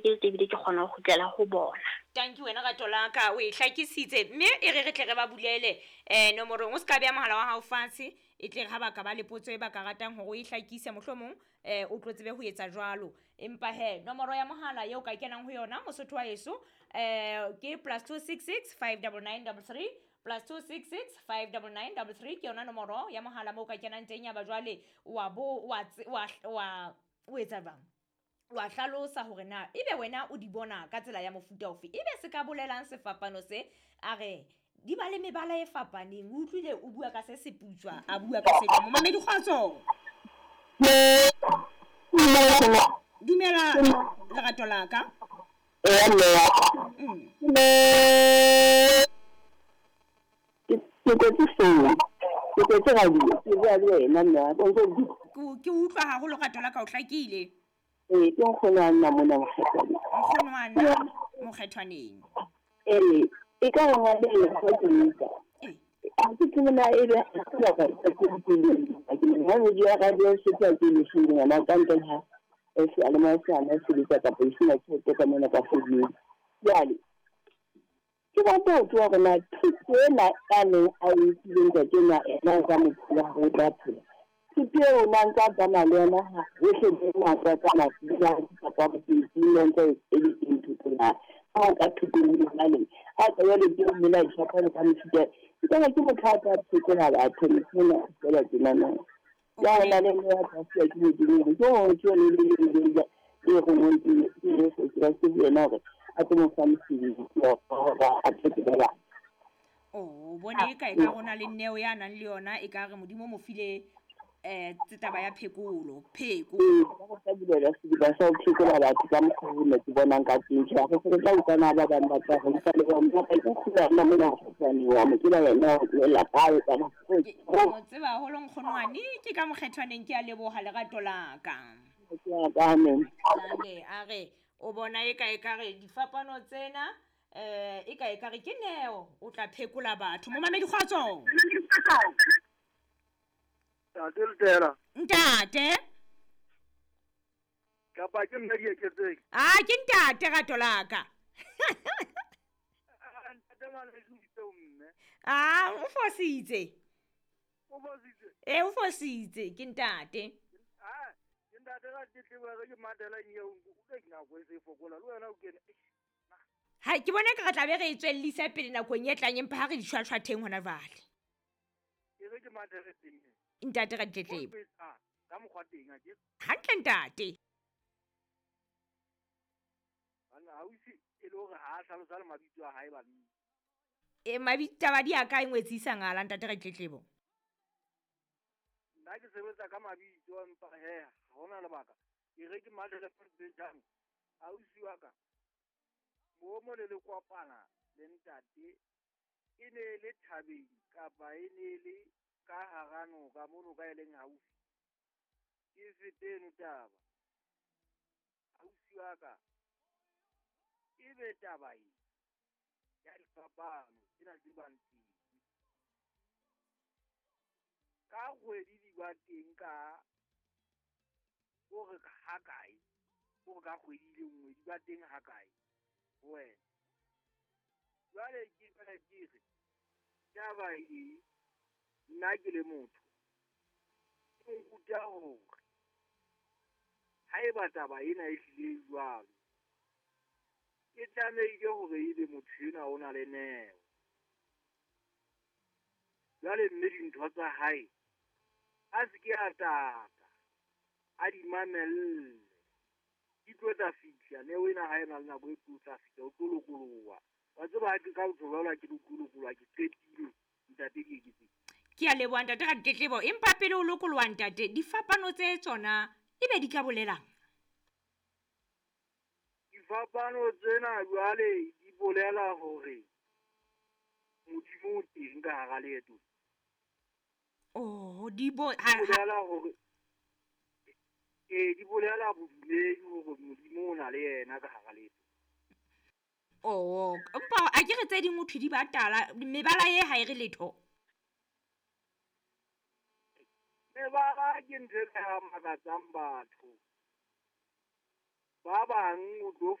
hlwekile ebile ke kgona ho kgutlela ho bona. Tanki wena rato la ka, o e hlakisitse mme e re re tle re ba bulele nomorong. O se ka beha mohala wa hao fatshe, e tle re ha ba ka ba le potso e ba ka ratang hore o e hlakise mohlomong o tlo tsebe ho etsa jwalo. Empa he nomoro ya mohala eo ka kenang ho yona Mosotho wa heso ke +266 599 33 +266 599 33 ke yona nomoro ya mohala moo ka kenang teng. Ya ba jwale wa bo wa wa wa o etsa jwang, wa hlalosa hore na ebe wena o di bona ka tsela ya mofuta ofe, ebe se ka bolelang sefapano se a re di ba le mebala e fapaneng. O utlwile o bua ka se seputswa, a bua ka se momamedi. Kgotso, dumela lerato la ka. Ke kwetse founu, ke kwetse radio, ke bua le wena mme wa ka, o ntso Ke utlwa haholo rato la ka, o hlakile. Ee, ke nkgono wa nna mona Mokgethwaneng. Nkgono wa nna Mokgethwaneng. Ee, e ka re ngwana ena ha ke utlwa. Ha ke tsebe na ebe ha ke batla ke utlwileng. Ke momamedi wa radio se tla ke le founu ngwana ka ntle ha seyalemoya se hana sebetsa kapa e sena tjhelete ka mona ka founung. Jwale ke batla ho tseba hore na thuto ena a neng a e file ntate enwa, ena o ka mo phela hore o tla phela. Thuto eo o na ntse a tsamaya le yona hohle moo a tla tsamaya kapa boteng ntse e le teng thuto na. Ha o ka thutong le jwale, ha ka jwale ke mmela difapano ka mefuta, ke ka ke motho a tla phekola batho motho ena feela tjena na. Ya hona le nna ya tla ke Modimo ke ho ke le le le le le rongweng ke Jesu Kreste ho yena hore a tlo mo fa mosebetsi wa hore a phekole batho. O bone e ka e ka rona le neo ya nang le yona, e ka re Modimo o mo file taba ya phekolo pheko. Ee, ba ka bulela sediba sa ho phekola batho ka mokgwa oo nna ke bonang ka teng. Tjhe, ha re se re tla utlwana ba bang ba tla re utlwa le bona. Empa ke kgula nna mona Mokgethwaneng wa mo tseba yena o tlohella kae kana. Ke mo tseba haholo nkgonwane, ke ka Mokgethwaneng. Ke a leboha lerato la ka. Ke a ka, amen. Jwale a re o bona e ka e ka re difapano tsena e ka e ka re ke neo o tla phekola batho. Momamedi kgotso. Ntate Letela. Ntate. Kapa ke nna Dieketseng? Ah, ke ntate rato la ka. Ntate ngwaneso o itse o mme. Ah, o fositse. O fositse? Eh, o fositse, ke ntate. Ah, ke ntate ka tletlebo ya ka ke matela eng eo, o ke nako e se e fokola, le wena o kene. Ha ke bona ka re tla be re e tswellisa pele nakong e tlang, empa ha re di shwashwatheng hona jwale. Ke re ke matele teng. Ntate ka ditletlebo. Ka mokgwa teng a ke. Hantle ntate. Banna ha o ise e le hore ha a hlalosa le mabitso a hae banna. E mabitso taba di a kae ngwetsi ngala ntate ka ditletlebo? Nna ke sebetsa ka mabitso empa he ha hona lebaka. Ke re ke matele jang. Ausi wa ka. Mo mo le le kopana le ntate e ne le thabeng kapa e ne le ka hara noka mo noka e leng haufi. Ke fete eno taba. Ausi wa ka e be taba e ya difapano tsena tse bang teng. Ka kgwedi di ba teng ka hore ha kae, hore ka kgwedi le nngwe di ba teng ha kae ho wena. Jwale ke fela ke re taba e nna ke le motho ke nkuta hore haeba taba ena e hlile jwalo, ke tlamehile hore ebe motho enwa o na le neo. Jwale mme dintho tsa hae a se ke a tata, a di mamelle. Di tlo tla fihla, neo ena ha e na le nako e tlo tla fihla, o tlo lokoloha. Wa tseba ha ke ka botho jwalo ha ke lokoloha, ke qetile ntate ke eketseng. Ke a leboha ntate ka ditletlebo, empa pele o lokoloha ntate, difapano tse tsona ebe di ka bolelang? Difapano tsena jwale di bolela hore Modimo o teng ka hara leeto. Oh, di bo ha bolela hore di bolela bodumedi hore Modimo o na le yena ka hara leeto. Oh, empa a ke re tse ding ho thwe di ba tala, mebala e ha e re letho. Mebala ke ntho e ka makatsang batho. Ba bang o tlo